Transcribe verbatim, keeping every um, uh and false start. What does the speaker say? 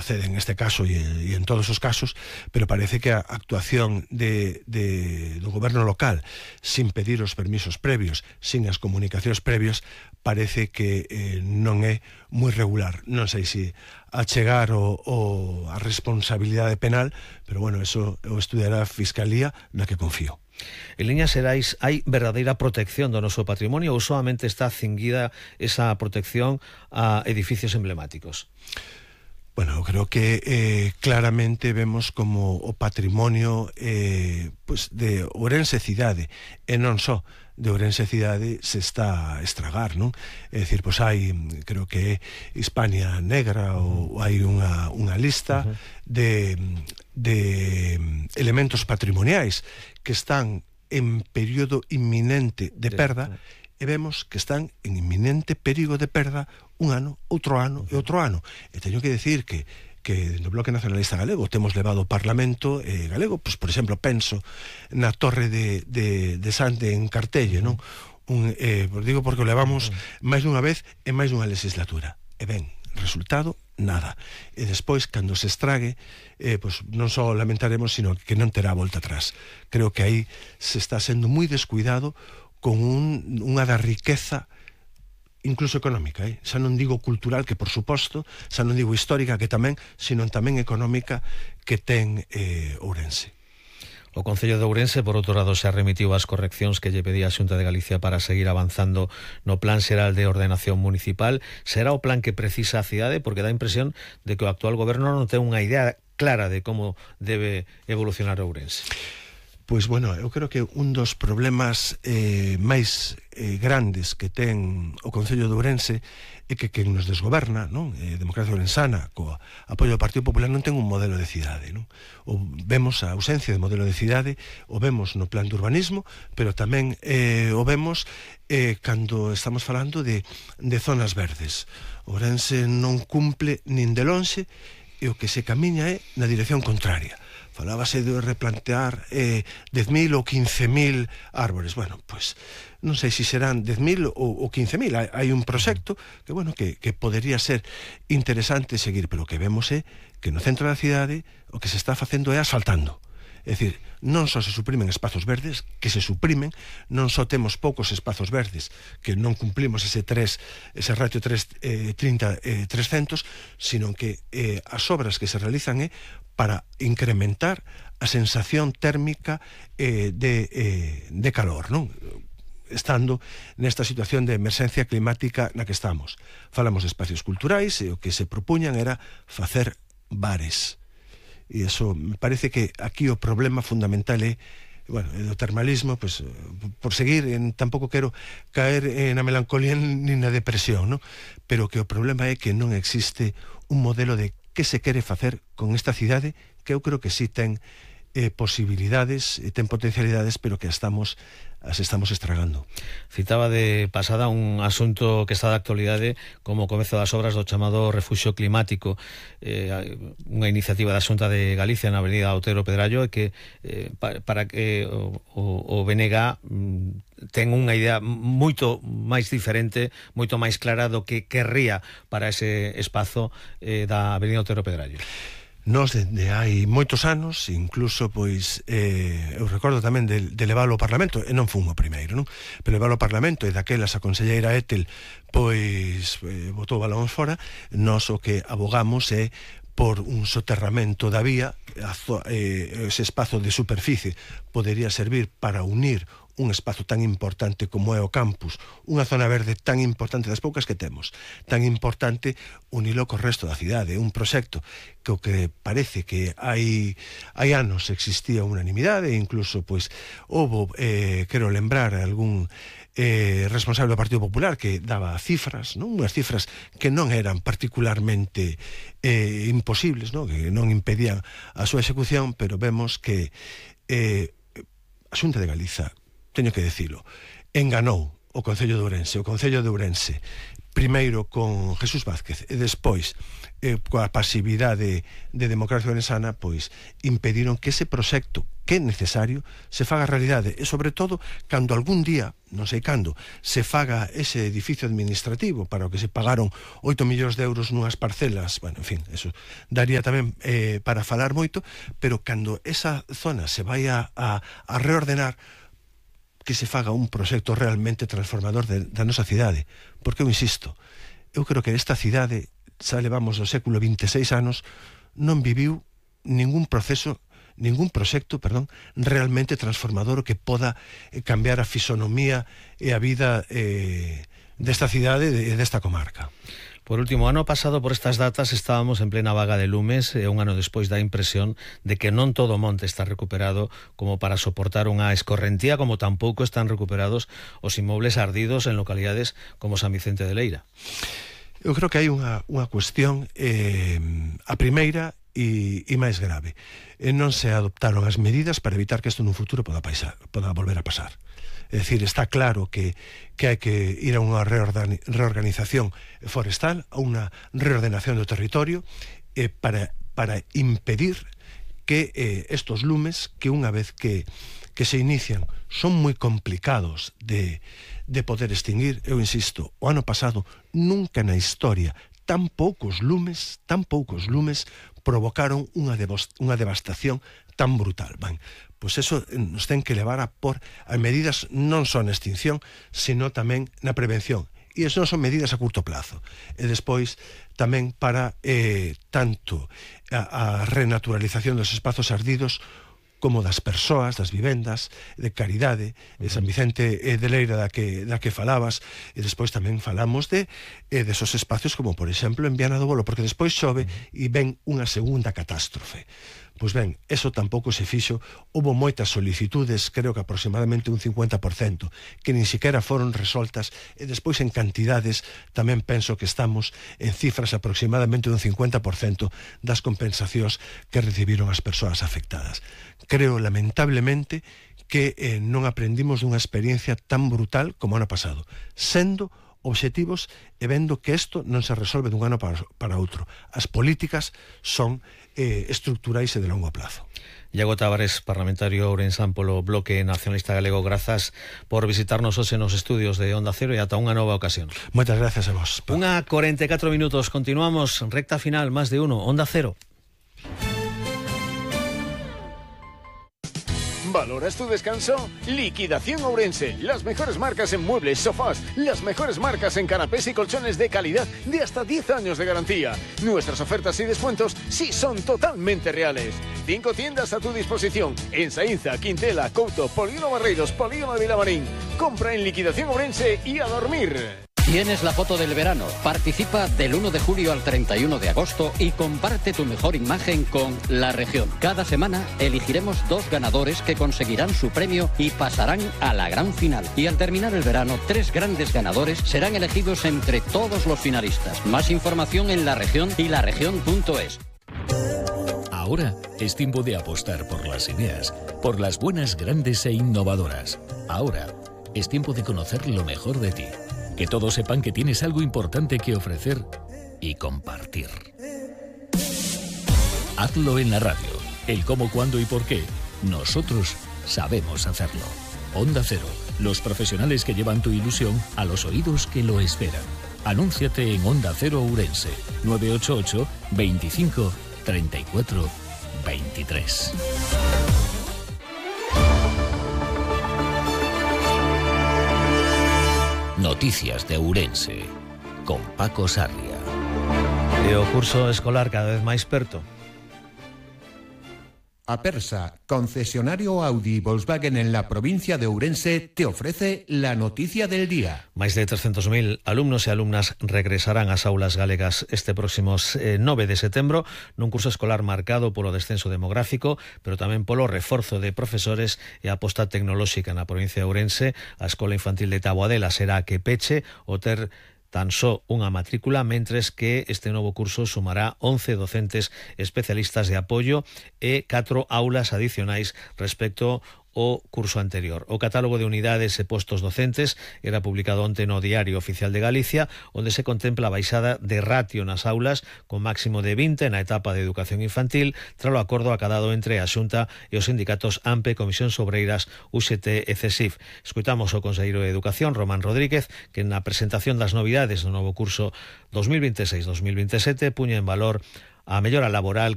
procede en este caso e, e en todos os casos, pero parece que a actuación de, de, do goberno local sin pedir os permisos previos, sin as comunicacións previos, parece que eh, non é moi regular. Non sei se a chegar o, o, a responsabilidade penal, pero bueno, eso o estudiará a Fiscalía, na que confío. En líneas xerais, hai verdadeira protección do noso patrimonio ou solamente está cinguida esa protección a edificios emblemáticos? Bueno, creo que eh, claramente vemos como o patrimonio eh, pues de Ourense cidade, e non só de Ourense cidade, se está a estragar, non? É dicir, pois hai, creo que é Hispania Negra, ou hai unha, unha lista uh-huh. de, de elementos patrimoniais que están en período inminente de perda, e vemos que están en inminente perigo de perda un ano, outro ano e outro ano. E teño que decir que que no Bloque Nacionalista Galego temos levado ao Parlamento eh, galego, pois, por exemplo, penso na Torre de, de, de Sante en Cartelle, non? Un, eh, digo porque o levamos máis dunha vez e máis dunha legislatura. E ben, resultado, nada. E despois, cando se estrague, eh, pois, non só lamentaremos, sino que non terá volta atrás. Creo que aí se está sendo moi descuidado con un, unha da riqueza incluso económica, eh? xa non digo cultural, que por suposto, xa non digo histórica, que tamén, sino tamén económica que ten eh, Ourense. O Concello de Ourense, por outro lado, se remitiu ás correccións que lle pedía a Xunta de Galicia para seguir avanzando no Plan Xeral de Ordenación Municipal. Será o plan que precisa a cidade, porque dá a impresión de que o actual goberno non ten unha idea clara de como debe evolucionar Ourense. Pois, bueno, eu creo que un dos problemas eh, máis eh, grandes que ten o Concello de Ourense é que quen nos desgoberna, non? Eh, Democracia Ourensana, co apoio do Partido Popular, non ten un modelo de cidade, non? O vemos a ausencia de modelo de cidade, o vemos no plan de urbanismo, pero tamén eh, o vemos eh, cando estamos falando de, de zonas verdes. Ourense non cumple nin de lonxe, e o que se camiña é na dirección contraria. Falábase de replantear eh, dez mil ou quince mil árbores. Bueno, pois non sei se serán dez mil ou quince mil. Hai, hai un proxecto que, bueno, que, que podería ser interesante seguir, pero o que vemos é que no centro da cidade o que se está facendo é asfaltando. É dicir, non só se suprimen espazos verdes, que se suprimen, non só temos poucos espazos verdes, que non cumplimos ese tres, ese ratio tres, eh, trinta, eh, trescentos, sino que eh, as obras que se realizan é para incrementar a sensación térmica eh, de, eh, de calor, non? Estando nesta situación de emerxencia climática na que estamos. Falamos de espacios culturais, e o que se propuñan era facer bares. E iso me parece que aquí o problema fundamental é, bueno, do termalismo, pues, por seguir, en, tampouco quero caer eh, na melancolía ni na depresión, ¿no? Pero que o problema é que non existe un modelo de que se quere facer con esta cidade, que eu creo que sí ten eh, posibilidades, e ten potencialidades, pero que estamos as estamos estragando. Citaba de pasada un asunto que está de actualidade como o comezo das obras do chamado Refuxio Climático, eh, unha iniciativa da Xunta de Galicia na avenida Otero Pedrallo, e que eh, para, para que o, o, o B N G mm, ten unha idea moito máis diferente, moito máis clara do que querría para ese espazo eh, da avenida Otero Pedrallo. Nos, dende hai moitos anos, incluso, pois, eh, eu recordo tamén de, de leválo ao Parlamento, e non fun o primeiro, non? Pero leválo ao Parlamento, e daquelas a conselleira Etel, pois, eh, botou balóns fora. Nos o que abogamos é por un soterramento da vía, a, eh, ese espazo de superficie podería servir para unir un espazo tan importante como é o campus, unha zona verde tan importante, das poucas que temos, tan importante, unilo co resto da cidade. Un proxecto que o que parece que hai hai anos existía unanimidade, e incluso, pois, houbo, eh, quero lembrar, algún eh, responsable do Partido Popular que daba cifras, non? Unhas cifras que non eran particularmente eh, imposibles, non? Que non impedían a súa execución, pero vemos que eh, a Xunta de Galiza, teño que dicilo, enganou o Concello de Ourense. O Concello de Ourense primeiro con Jesús Vázquez e despois eh, coa pasividade de Democracia Orensana, pois impediron que ese proxecto que é necesario se faga realidade, e sobre todo cando algún día, non sei cando, se faga ese edificio administrativo para o que se pagaron oito millóns de euros nunhas parcelas, bueno, en fin, eso daría tamén eh, para falar moito, pero cando esa zona se vai a, a, a reordenar, que se faga un proxecto realmente transformador de, da nosa cidade, porque eu insisto, eu creo que esta cidade, xa levamos do século veintiséis anos, non viviu ningún proceso, ningún proxecto, perdón, realmente transformador que poda eh, cambiar a fisonomía e a vida eh, desta cidade e desta comarca. Por último, ano pasado por estas datas estábamos en plena vaga de lumes e un ano despois dá impresión de que non todo o monte está recuperado como para soportar unha escorrentía, como tampouco están recuperados os inmobles ardidos en localidades como San Vicente de Leira. Eu creo que hai unha, unha cuestión, eh, a primeira e, e máis grave. E non se adoptaron as medidas para evitar que isto nun futuro poda, paisar, poda volver a pasar. É dicir, está claro que, que hai que ir a unha reorganización forestal, a unha reordenación do territorio, eh, para, para impedir que eh, estos lumes, que unha vez que, que se inician, son moi complicados de, de poder extinguir. Eu insisto, o ano pasado, nunca na historia, tan poucos lumes, tan poucos lumes, provocaron unha, unha devastación tan brutal. Ben, pois eso nos ten que levar a por a medidas non só na extinción, sino tamén na prevención. E eso non son medidas a curto plazo. E despois tamén para eh, tanto a, a renaturalización dos espazos ardidos como das persoas, das vivendas, de caridade, de San Vicente de Leira da que, da que falabas, e despois tamén falamos de eh, desos espacios como, por exemplo, en Viana do Bolo, porque despois chove e ven unha segunda catástrofe. Pois ben, eso tampouco se fixo, houve moitas solicitudes, creo que aproximadamente un cincuenta por cento, que nin siquiera foron resoltas, e despois en cantidades tamén penso que estamos en cifras aproximadamente un cincuenta por cento das compensacións que recibiron as persoas afectadas. Creo, lamentablemente, que eh, non aprendimos dunha experiencia tan brutal como ano pasado, sendo obxectivos e vendo que isto non se resolve dun ano para, para outro. As políticas son eh, estructurais e de longo plazo. Iago Tavares, parlamentario ourensán polo Bloque Nacionalista Galego, grazas por visitarnos hoxe nos estudios de Onda Cero e ata unha nova ocasión. Moitas gracias a vos. Unha cuarenta e catro minutos, continuamos, recta final, máis de uno, Onda Cero. ¿Valoras tu descanso? Liquidación Ourense. Las mejores marcas en muebles, sofás, las mejores marcas en canapés y colchones de calidad de hasta diez años de garantía. Nuestras ofertas y descuentos sí son totalmente reales. Cinco tiendas a tu disposición en Saínza, Quintela, Couto, Polígono Barreiros, Polígono de Vilamarín. Compra en Liquidación Ourense y a dormir. Tienes la foto del verano. Participa del uno de julio al treinta y uno de agosto y comparte tu mejor imagen con La Región. Cada semana elegiremos dos ganadores que conseguirán su premio y pasarán a la gran final. Y al terminar el verano, tres grandes ganadores serán elegidos entre todos los finalistas. Más información en La Región y laregion punto es. Ahora es tiempo de apostar por las ideas, por las buenas, grandes e innovadoras. Ahora es tiempo de conocer lo mejor de ti. Que todos sepan que tienes algo importante que ofrecer y compartir. Hazlo en la radio. El cómo, cuándo y por qué. Nosotros sabemos hacerlo. Onda Cero. Los profesionales que llevan tu ilusión a los oídos que lo esperan. Anúnciate en Onda Cero Ourense. nueve ocho ocho, veinticinco, treinta y cuatro, veintitrés. Noticias de Ourense, con Paco Sarria. E o curso escolar cada vez máis perto. Apersa, concesionario Audi y Volkswagen en la provincia de Ourense, te ofrece la noticia del día. Máis de trescentos mil alumnos e alumnas regresarán ás aulas galegas este próximo eh, nove de setembro nun curso escolar marcado polo descenso demográfico, pero tamén polo reforzo de profesores e a aposta tecnolóxica na provincia de Ourense. A Escola Infantil de Taboadela será a que peche o ter tan só unha matrícula, mentres que este novo curso sumará once docentes especialistas de apoio e catro aulas adicionais respecto o curso anterior. O catálogo de unidades e postos docentes era publicado onte no Diario Oficial de Galicia, onde se contempla a baixada de ratio nas aulas con máximo de vinte na etapa de educación infantil, tras o acordo acadado entre a Xunta e os sindicatos A M P E, Comisións Obreiras, U X T e C E S I F. Escoitamos o conselleiro de Educación, Román Rodríguez, que na presentación das novidades do novo curso dos mil vinte e seis dos mil vinte e sete puña en valor a mellora laboral